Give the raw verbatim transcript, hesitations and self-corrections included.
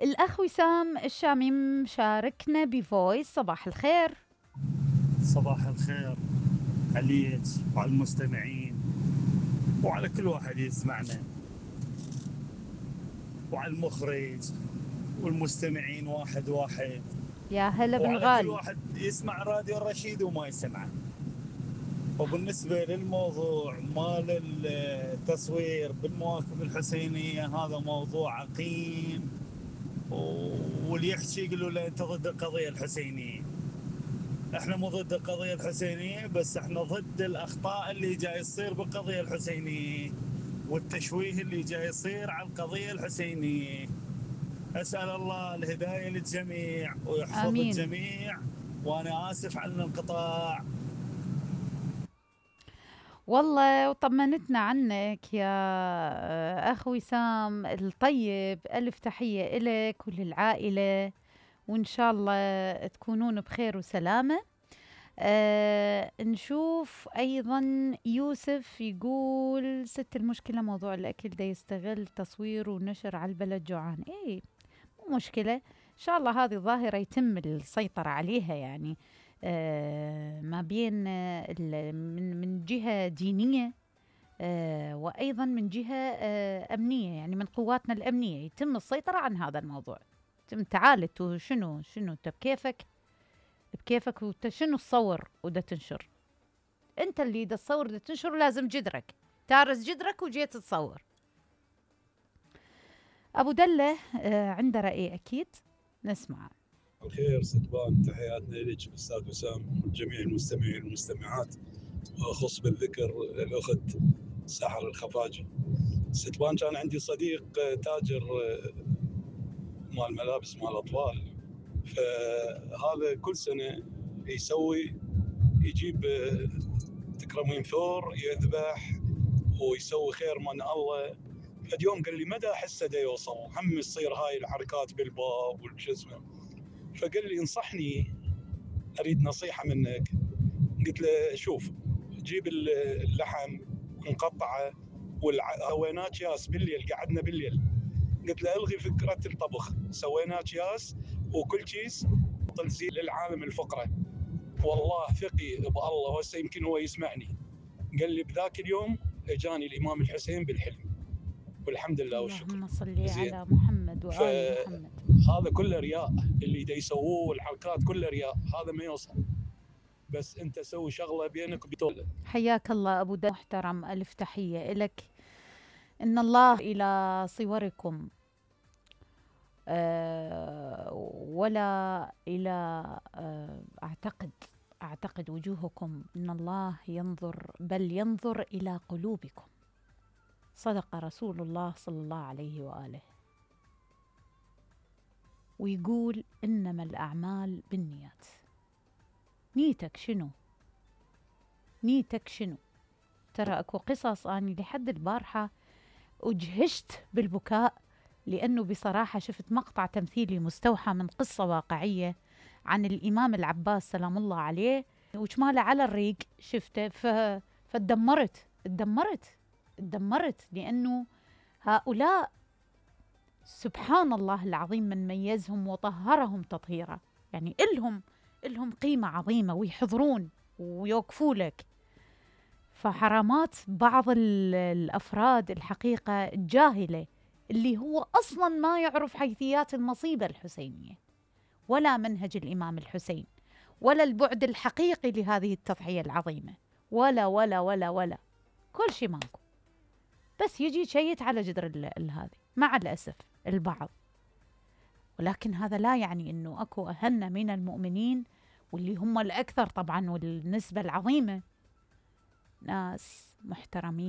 الأخ وسام الشامي مشاركنا بفويس. صباح الخير. صباح الخير عليك وعلى المستمعين وعلى كل واحد يسمعنا وعلى المخرج والمستمعين واحد واحد، يا هلا وعلى كل بالغالي. واحد يسمع راديو الرشيد وما يسمعه. وبالنسبة للموضوع مال التصوير بالمواكب الحسينية، هذا موضوع عقيم، واللي يحكي يقولوا له انت ضد القضية الحسينية. احنا مو ضد القضية الحسينية، بس احنا ضد الاخطاء اللي جاي يصير بالقضية الحسينية والتشويه اللي جاي يصير على القضية الحسينية. اسأل الله الهداية للجميع ويحفظ آمين. الجميع، وانا اسف على الانقطاع. والله وطمنتنا عنك يا أخ وسام الطيب. ألف تحية إلك وللعائلة، وإن شاء الله تكونون بخير وسلامة. أه نشوف أيضا يوسف يقول ست المشكلة موضوع الأكل دا يستغل تصوير ونشر على البلد جوعان. إيه مو مشكلة، إن شاء الله هذه ظاهرة يتم السيطرة عليها، يعني آه ما بين آه من من جهة دينية آه وأيضا من جهة آه أمنية، يعني من قواتنا الأمنية يتم السيطرة عن هذا الموضوع. تم تعال انتو شنو شنو انت بكيفك بكيفك وانت شنو تصور ودا تنشر؟ انت اللي دا تصور دا تنشر، لازم جدرك تارس جدرك وجيت تصور. أبو دلة آه عنده رأي أكيد، نسمع. الخير ستبان، تحياتنا لك أستاذ وسام وجميع المستمعين والمستمعات، وأخص بالذكر الأخت سحر الخفاجي. ستبان كان عندي صديق تاجر مال ملابس مال أطفال، فهذا كل سنة يسوي يجيب تكرمين ثور يذبح ويسوي خير من الله. فاليوم قال لي مدى أحسه دا يوصل، هم يصير هاي الحركات بالباب والجزمة. فقال لي انصحني، أريد نصيحة منك. قلت له شوف، جيب اللحم ونقطعه وسويناه أكياس بالليل، قعدنا بالليل. قلت له الغي فكرة الطبخ، سويناه أكياس وكل كيس تنزيل للعالم الفقراء. والله ثقي بالله، وهسه يمكن هو يسمعني. قال لي بذاك اليوم اجاني الإمام الحسين بالحلم، والحمد لله والشكر. اللهم صل على محمد وآل محمد. هذا كله رياء، اللي دا يسووه والحركات كله رياء، هذا ما يوصل. بس انت سوي شغله بينك وبين. حياك الله ابو دا محترم، الف تحيه لك. ان الله الى صوركم أه ولا الى أه اعتقد اعتقد وجوهكم، ان الله ينظر، بل ينظر الى قلوبكم. صدق رسول الله صلى الله عليه واله، ويقول انما الاعمال بالنيات. نيتك شنو؟ نيتك شنو؟ ترى اكو قصص اني لحد البارحه اجهشت بالبكاء، لانه بصراحه شفت مقطع تمثيلي مستوحى من قصه واقعيه عن الامام العباس سلام الله عليه، وشماله على الريق شفته. ف... فتدمرت اتدمرت اتدمرت لانه هؤلاء سبحان الله العظيم من ميزهم وطهرهم تطهيرا، يعني إلهم إلهم قيمة عظيمة ويحضرون ويوقفوا لك. فحرامات بعض الأفراد الحقيقة الجاهلة، اللي هو أصلا ما يعرف حيثيات المصيبة الحسينية ولا منهج الإمام الحسين ولا البعد الحقيقي لهذه التضحية العظيمة، ولا ولا ولا ولا كل شيء ماكو، بس يجي يشيت على جدر هذه مع الأسف البعض. ولكن هذا لا يعني أنه أكو أهلنا من المؤمنين، واللي هم الأكثر طبعا والنسبة العظيمة، ناس محترمين